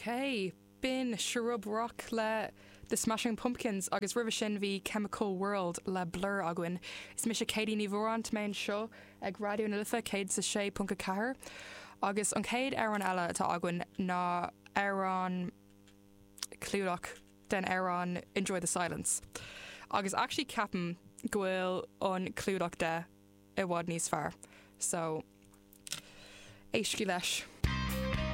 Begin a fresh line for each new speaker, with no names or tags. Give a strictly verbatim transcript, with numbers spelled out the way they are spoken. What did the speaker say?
Ok, b'in Shrub Rock le The Smashing Pumpkins agus roimhe sin bhí Chemical World le Blur againn. Is mise Katie Ní Mhóráin mé anseo ag Raidió na Life céad sa sé ponc ceathair. Agus an chéad amhrán eile atá againn ná amhrán clúdach den amhrán Enjoy the Silence. Agus actually ceapaim go bhfuil an clúdach de i bhfad níos fearr. So éistigí leis.